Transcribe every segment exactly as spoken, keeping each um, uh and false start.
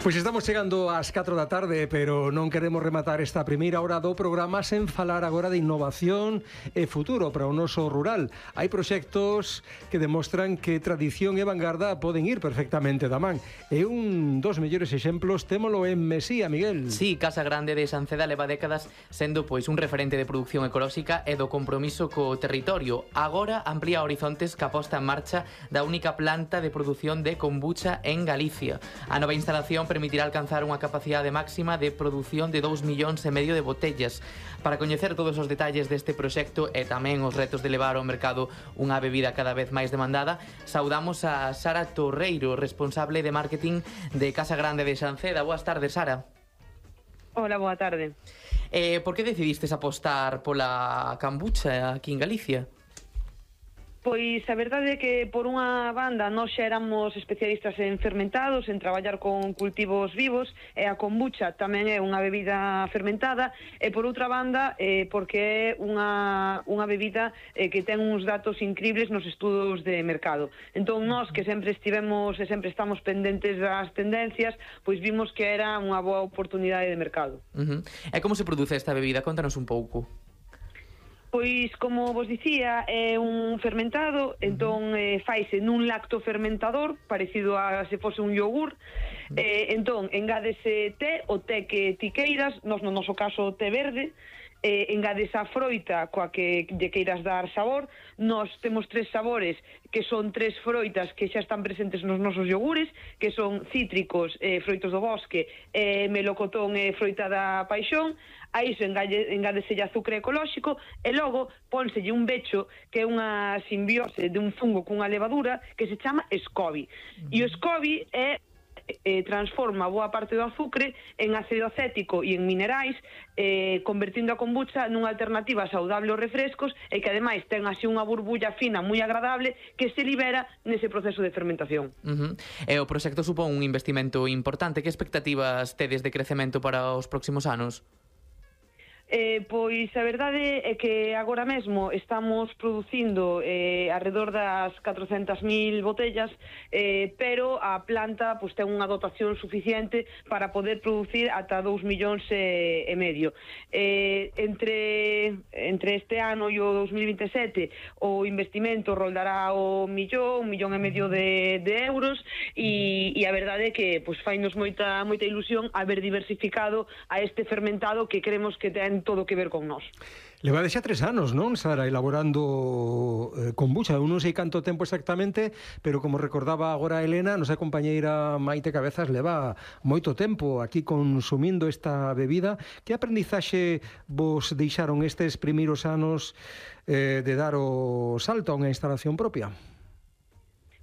Pois estamos chegando ás catro da tarde, pero non queremos rematar esta primeira hora do programa sen falar agora de innovación e futuro para o noso rural. Hai proxectos que demostran que tradición e vanguarda poden ir perfectamente da man. E un dos mellores exemplos témolo en Mesía, Miguel. Sí, Casa Grande de Sanceda leva décadas sendo pois un referente de produción ecolóxica e do compromiso co territorio. Agora amplía horizontes ca posta en marcha da única planta de produción de kombucha en Galicia. A nova instalación permitirá alcanzar unha capacidade máxima de produción de dous millóns e medio de botellas. Para coñecer todos os detalles deste proxecto e tamén os retos de levar ao mercado unha bebida cada vez máis demandada, saudamos a Sara Torreiro, responsable de marketing de Casa Grande de Sanceda. Boas tardes, Sara. Hola, boa tarde. Eh, por que decidistes apostar pola kombucha aquí en Galicia? Pois a verdade é que por unha banda nós xa éramos especialistas en fermentados, en traballar con cultivos vivos, e a kombucha tamén é unha bebida fermentada, e por outra banda eh, porque é unha, unha bebida eh, que ten uns datos increíbles nos estudos de mercado. Entón nós que sempre estivemos e sempre estamos pendentes das tendencias, pois vimos que era unha boa oportunidade de mercado. Uh-huh. E como se produce esta bebida? Contanos un pouco. Pois, como vos dicía, é un fermentado, entón eh, faise nun lactofermentador, parecido a se fose un yogur, eh, entón engádese té, o té que ti queiras, nos no noso caso té verde, eh, engades a froita coa que lle queiras dar sabor. Nós temos tres sabores que son tres froitas que xa están presentes nos nosos yogures, que son cítricos, eh, froitos do bosque, eh, melocotón e froita da paixón. A iso engádeselle azúcar ecolóxico e logo pónselle un becho que é unha simbiose de un fungo cunha levadura que se chama SCOBY. E o SCOBY é eh, transforma boa parte do azúcar en ácido acético e en minerais, eh, convertindo a kombucha nunha alternativa saudable aos refrescos e que ademais ten así unha burbulla fina moi agradable que se libera nese proceso de fermentación. Uh-huh. E o proxecto supón un investimento importante. Que expectativas tedes de crecemento para os próximos anos? Eh, pois a verdade é que agora mesmo estamos producindo eh, alrededor das catrocentas mil botellas, eh, pero a planta pois, ten unha dotación suficiente para poder producir ata dous millóns e, e medio. Eh, entre, entre este ano e o dous mil vinte e sete o investimento roldará o millón, un millón e medio de, de euros e, e a verdade é que pois, fainos moita, moita ilusión haber diversificado a este fermentado que creemos que ten todo que ver con nós. Levades xa tres anos, non, Sara, elaborando eh, kombucha. Eu non sei canto tempo exactamente, pero como recordaba agora a Elena, nosa compañeira Maite Cabezas leva moito tempo aquí consumindo esta bebida. Que aprendizaxe vos deixaron estes primeiros anos eh, de dar o salto a unha instalación propia?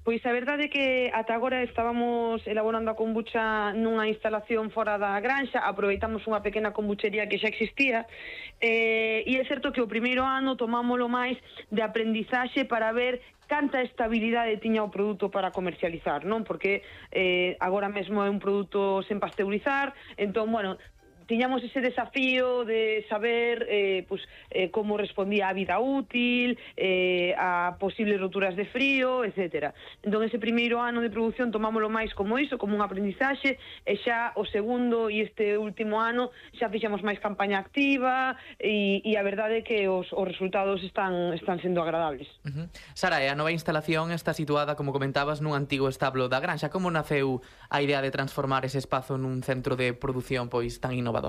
Pois a verdade é que ata agora estábamos elaborando a kombucha nunha instalación fora da granxa, aproveitamos unha pequena kombuchería que xa existía, eh, e é certo que o primeiro ano tomámolo máis de aprendizaxe para ver canta estabilidade tiña o produto para comercializar, non? Porque eh, agora mesmo é un produto sen pasteurizar, entón, bueno, tiñamos ese desafío de saber eh, pues, eh, como respondía a vida útil, eh, a posibles roturas de frío, etcétera. Entón, ese primeiro ano de produción tomámoslo máis como iso, como un aprendizaxe, e xa o segundo e este último ano xa fixamos máis campaña activa e, e a verdade é que os, os resultados están, están sendo agradables. Uh-huh. Sara, a nova instalación está situada, como comentabas, nun antigo establo da granxa. Como naceu a idea de transformar ese espazo nun centro de produción pois tan innovador?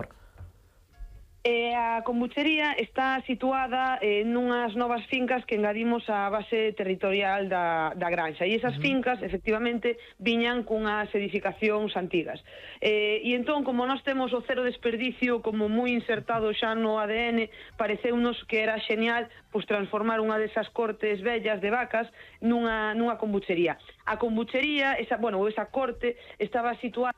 Eh, a kombuchería está situada eh, nunhas novas fincas que engadimos á base territorial da, da granxa, e esas uh-huh. fincas efectivamente viñan cunhas edificacións antigas, eh, e entón como nós temos o cero desperdicio como moi insertado xa no A D N, pareceunos que era xenial pois, transformar unha desas cortes vellas de vacas nunha, nunha kombuchería. A kombuchería, esa, bueno, esa corte estaba situada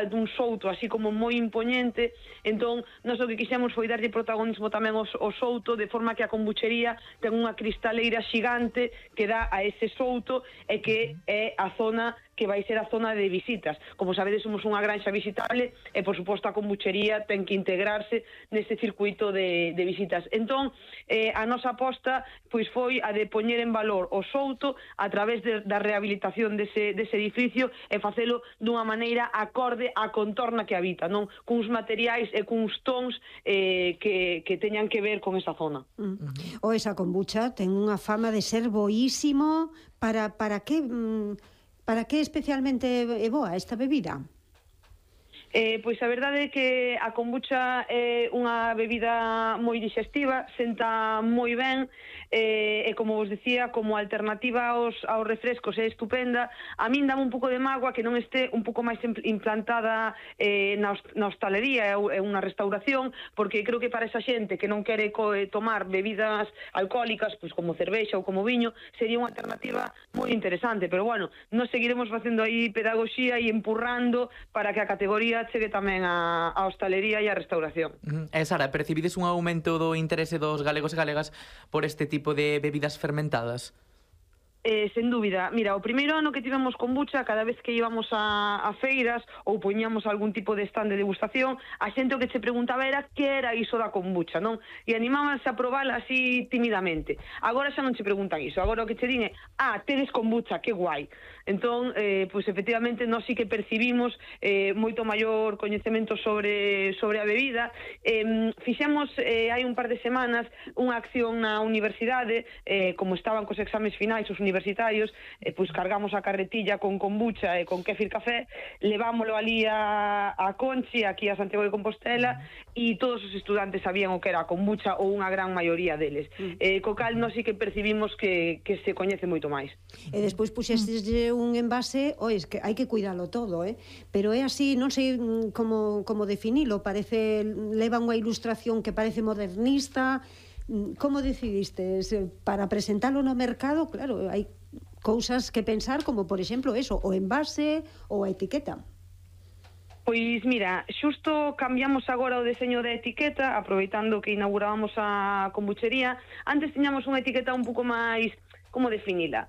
dun souto así como moi impoñente, entón nós o que quixemos foi darlle protagonismo tamén ao, ao souto, de forma que a kombuchería ten unha cristaleira xigante que dá a ese souto e que é a zona que vai ser a zona de visitas. Como sabedes, somos unha granxa visitable e, por suposto, a kombuchería ten que integrarse neste circuito de, de visitas. Entón, eh, a nosa aposta pois foi a de poñer en valor o souto a través de, da rehabilitación dese, dese edificio e facelo dunha maneira acorde á contorna que habita, non? Cuns materiais e cuns tons eh, que, que teñan que ver con esa zona. Mm. O esa kombucha ten unha fama de ser boísimo. Para, para que... Mm, Para que especialmente é boa esta bebida? Eh, pois a verdade é que a kombucha é unha bebida moi digestiva, senta moi ben, eh, e como vos decía, como alternativa aos, aos refrescos é estupenda. A min dame un pouco de mágoa que non este un pouco máis implantada eh, na, na hostalería e unha restauración, porque creo que para esa xente que non quere co, eh, tomar bebidas alcohólicas, pois como cervexa ou como viño, sería unha alternativa moi interesante. Pero bueno, nos seguiremos facendo aí pedagogía e empurrando para que a categoría chegue tamén a, a hostalería e a restauración. Uh -huh. E Sara, percibides un aumento do interese dos galegos e galegas por este tipo de bebidas fermentadas? Eh, sen dúbida. Mira, o primeiro ano que tivemos kombucha, cada vez que íbamos a, a feiras ou poñíamos algún tipo de stand de degustación, a xente o que se preguntaba era que era iso da kombucha, non? E animábanse a probala así timidamente. Agora xa non se preguntan iso. Agora o que che din é, ah, tedes kombucha, que guai. Entón, eh, pois efectivamente, nós sí que percibimos eh, moito maior coñecemento sobre, sobre a bebida. Eh, fixemos, eh, hai un par de semanas, unha acción na universidade, eh, como estaban cos exames finais os universitarios, eh, pois cargamos a carretilla con kombucha e con kéfir café, levámoslo ali a, a Conchi, aquí a Santiago de Compostela, e todos os estudantes sabían o que era a kombucha, ou unha gran maioría deles. Eh, co cal, nós sí que percibimos que, que se coñece moito máis. E despois puxesteslle un envase, ois, que hai que cuidalo todo, eh? Pero é así, non sei como, como definilo, parece, leva unha ilustración que parece modernista. Como decidistes para presentalo no mercado? Claro, hai cousas que pensar, como por exemplo eso, o envase ou a etiqueta. Pois mira, xusto cambiamos agora o deseño da etiqueta, aproveitando que inaugurábamos a kombuchería. Antes tiñamos unha etiqueta un pouco máis, como definila?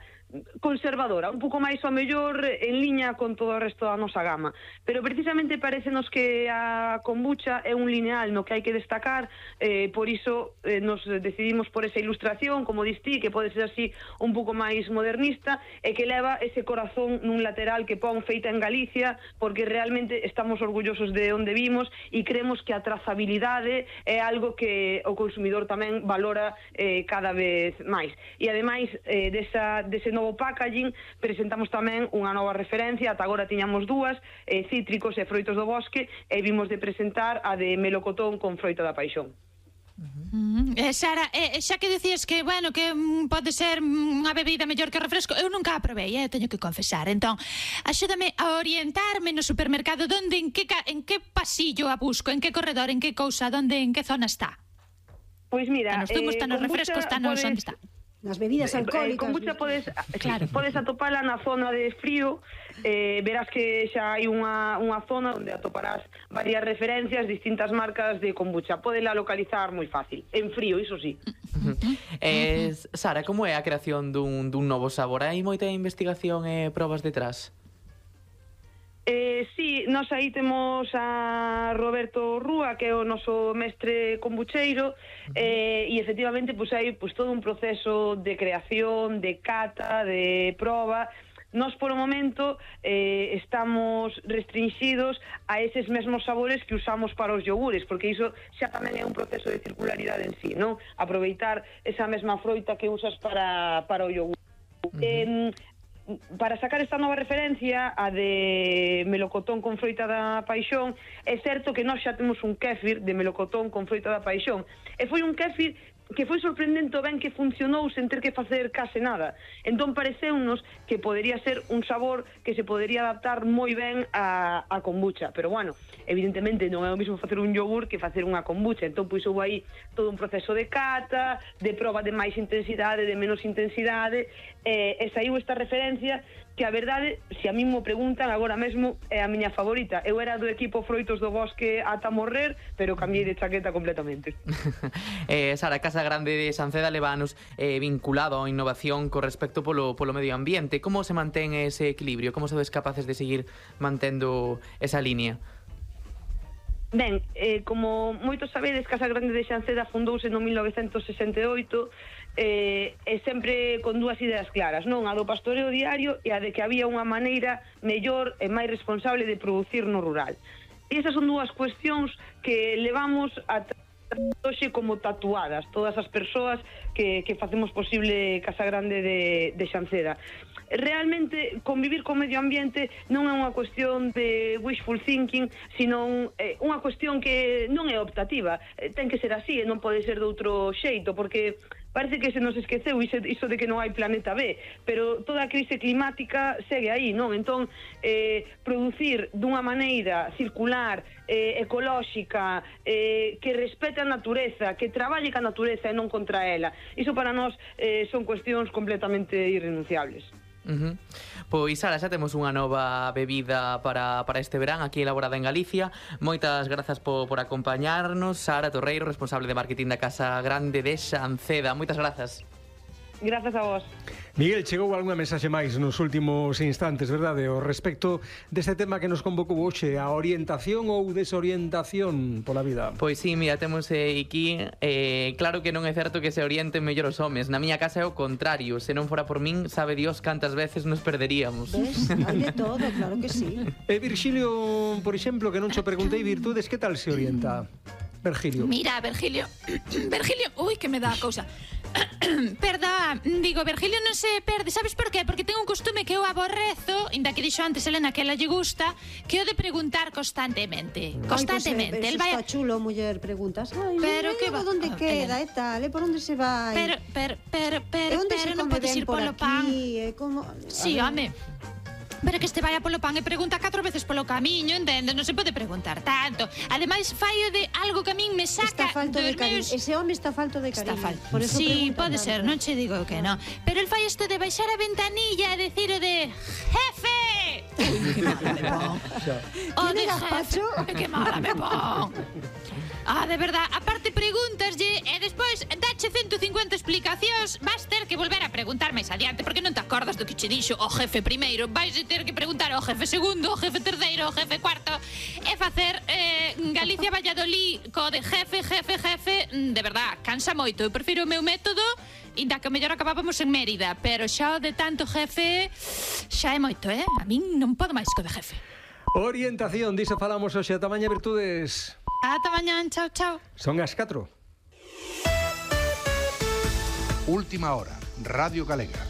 Conservadora, un pouco máis ao mellor en liña con todo o resto da nosa gama, pero precisamente parecenos que a kombucha é un lineal no que hai que destacar, eh, por iso eh, nos decidimos por esa ilustración, como distí, que pode ser así un pouco máis modernista e que leva ese corazón nun lateral que pon feita en Galicia, porque realmente estamos orgullosos de onde vimos e creemos que a trazabilidade é algo que o consumidor tamén valora eh, cada vez máis. E ademais eh, desa, dese novo packaging, presentamos tamén unha nova referencia. Ata agora tiñamos dúas, eh, cítricos e froitos do bosque, e vimos de presentar a de melocotón con froita da paixón. Uh -huh. eh, Sara, eh, xa que decías que, bueno, que mm, pode ser unha bebida mellor que o refresco, eu nunca a probei, eh, teño que confesar. Entón, axúdame a orientarme no supermercado, donde, en que, en que pasillo a busco, en que corredor, en que cousa, donde, en que zona está? Pois mira, está nos zumos, está nos refrescos, está nos... Onde está? Nas bebidas alcohólicas. Eh, kombucha podes, claro, podes atopala na zona de frío, eh, verás que xa hai unha, unha zona onde atoparás varias referencias, distintas marcas de kombucha. Podela localizar moi fácil, en frío, iso sí. Uh -huh. eh, Sara, como é a creación dun, dun novo sabor? Hai moita investigación e probas detrás? Eh, sí, nós aí temos a Roberto Rúa, que é o noso mestre kombucheiro, eh, e efectivamente pues, hai pues, todo un proceso de creación, de cata, de proba. Nós, por o momento, eh, estamos restringidos a eses mesmos sabores que usamos para os yogures, porque iso xa tamén é un proceso de circularidade en sí, non? Aproveitar esa mesma froita que usas para, para o yogur. Uh-huh. eh, Para sacar esta nova referencia, a de melocotón con froita da paixón, é certo que nós xa temos un kéfir de melocotón con froita da paixón, e foi un kéfir que foi sorprendente o ben que funcionou sen ter que facer case nada. Entón pareceunos que podería ser un sabor que se podería adaptar moi ben a, a kombucha, pero bueno, evidentemente non é o mesmo facer un yogur que facer unha kombucha. Entón pois houve aí todo un proceso de cata, de proba de máis intensidade, de menos intensidade, e, e saiu esta referencia que a verdade, se a mí me preguntan agora mesmo, é a miña favorita. Eu era do equipo Froitos do Bosque ata morrer, pero cambiei de chaqueta completamente. eh, Sara, Casa Grande de Sanceda leva anos eh, vinculado á innovación co respecto polo, polo medio ambiente. Como se mantén ese equilibrio? Como sodes capaces de seguir mantendo esa línea? Ben, eh, como moitos sabedes, Casa Grande de Sanceda fundouse no mil novecentos sesenta e oito eh, e sempre con dúas ideas claras, non? A do pastoreo diario e a de que había unha maneira mellor e máis responsable de producir no rural. E esas son dúas cuestións que levamos a hoxe como tatuadas todas as persoas que, que facemos posible Casa Grande de, de Sanceda. Realmente convivir co medio ambiente non é unha cuestión de wishful thinking, sino eh, unha cuestión que non é optativa, eh, ten que ser así e non pode ser de outro xeito, porque parece que se nos esqueceu iso, iso de que non hai planeta B, pero toda a crise climática segue aí, non? Entón, eh, producir dunha maneira circular, eh, ecolóxica, eh, que respete a natureza, que traballe ca natureza e non contra ela, iso para nós eh, son cuestións completamente irrenunciables. Uh -huh. Pois, Sara, xa temos unha nova bebida para, para este verán aquí elaborada en Galicia. Moitas grazas por, por acompañarnos. Sara Torreiro, responsable de marketing da Casa Grande de Sanceda. Moitas grazas. Grazas a vos. Miguel, chegou algunha mensaxe máis nos últimos instantes, verdade? O respecto deste tema que nos convocou hoxe, a orientación ou desorientación pola vida. Pois sí, mira, temos eh, aquí eh, claro que non é certo que se orienten mellor os homes. Na miña casa é o contrario. Se non fora por min, sabe Dios cantas veces nos perderíamos. Ves? Hai de todo, claro que sí. E Virgilio, por exemplo, que non cho preguntei virtudes, que tal se orienta? Virgilio. Mira, Virgilio, Virgilio, ui, que me dá a cousa. Perda, digo, Virgilio non se perde. Sabes por qué? Porque ten un costume que eu aborrezo, inda que dixo antes Elena que ela lle gusta, que é o de preguntar constantemente. Constantemente. Ay, pues, eh, El vai está chulo, muller, preguntas. Ay, pero que va, onde oh, queda, Elena. e tal, e por onde se vai? Pero, pero, pero, e pero, onde pero se non come podes ben ir por polo aquí? pan. E como... Sí, home. Pero que este vaya polo pan e pregunta catro veces polo camiño, entendes? Non se pode preguntar tanto. Ademais, faio de algo que a min me saca Está falto de dos cariño. meus... Ese home está falto de Está cariño. falto. Por eso Sí, pregunta pode tanto. ser, non che digo que non. Pero el fai isto de baixar a ventanilla e decir o de jefe. Que mala me pon. O ¿Quién de era, jefe. Pacho? Que mala me pon. Ah, de verdad, aparte preguntaslle e despois dache ciento cincuenta explicacións, vas ter que volver a preguntar máis adiante, porque non te acordas do que che dixo o jefe primeiro, vais ter que preguntar ao jefe segundo, ao jefe terceiro, ao jefe cuarto, e facer eh, Galicia Valladolid co de jefe, jefe, jefe, de verdad, cansa moito. Eu prefiro o meu método, inda que o mellor acabábamos en Mérida, pero xa o de tanto jefe xa é moito, eh? A min non podo máis co de jefe. Orientación, diso falamos hoxe. Ata mañá, virtudes. Ata mañán, chao, chao. Son as catro. Última hora, Radio Galega.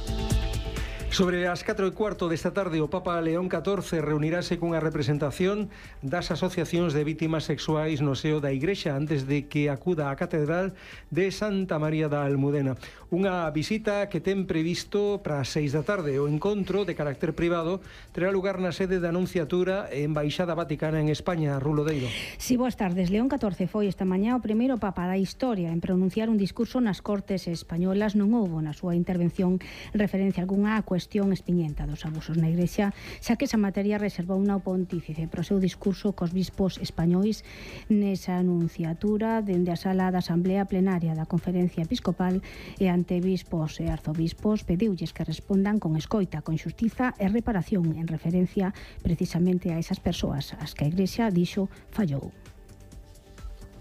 Sobre as catro e cuarto desta tarde, o Papa León catorce reunirase cunha representación das asociacións de vítimas sexuais no seo da Igrexa antes de que acuda á Catedral de Santa María da Almudena. Unha visita que ten previsto para as seis da tarde. O encontro de carácter privado terá lugar na sede da Anunciatura e Embaixada Vaticana en España. Rulodeiro. Si, boas tardes. León catorce foi esta mañá o primeiro Papa da historia en pronunciar un discurso nas Cortes españolas. Non houbo na súa intervención referencia algunha a cuestión espiñenta dos abusos na Igrexa, xa que esa materia reservou unha pontífice pro seu discurso cos bispos españois nesa anunciatura dende a sala da Asamblea Plenaria da Conferencia Episcopal, e ante bispos e arzobispos pediulles que respondan con escoita, con xustiza e reparación, en referencia precisamente a esas persoas as que a Igrexa dixo fallou.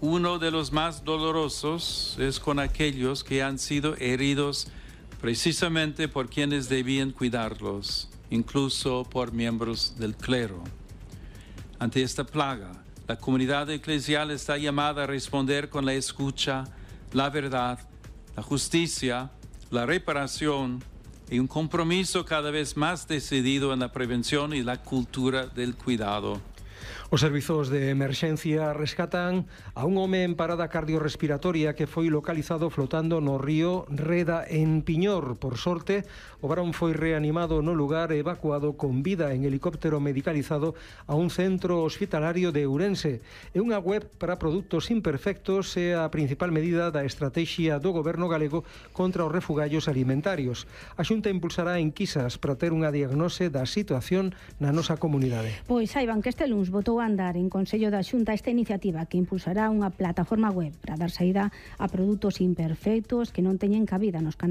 Uno de los más dolorosos es con aquellos que han sido heridos precisamente por quienes debían cuidarlos, incluso por miembros del clero. Ante esta plaga, la comunidad eclesial está llamada a responder con la escucha, la verdad, la justicia, la reparación y un compromiso cada vez más decidido en la prevención y la cultura del cuidado. Os servizos de emerxencia rescatan a un home en parada cardiorrespiratoria que foi localizado flotando no río Reda en Piñor. Por sorte, o varón foi reanimado no lugar e evacuado con vida en helicóptero medicalizado a un centro hospitalario de Ourense. E unha web para produtos imperfectos é a principal medida da estrategia do goberno galego contra os refugallos alimentarios. A Xunta impulsará enquisas para ter unha diagnose da situación na nosa comunidade. Pois saiban que este luns votou a andar en Consello da Xunta esta iniciativa que impulsará unha plataforma web para dar saída a produtos imperfectos que non teñen cabida nos canais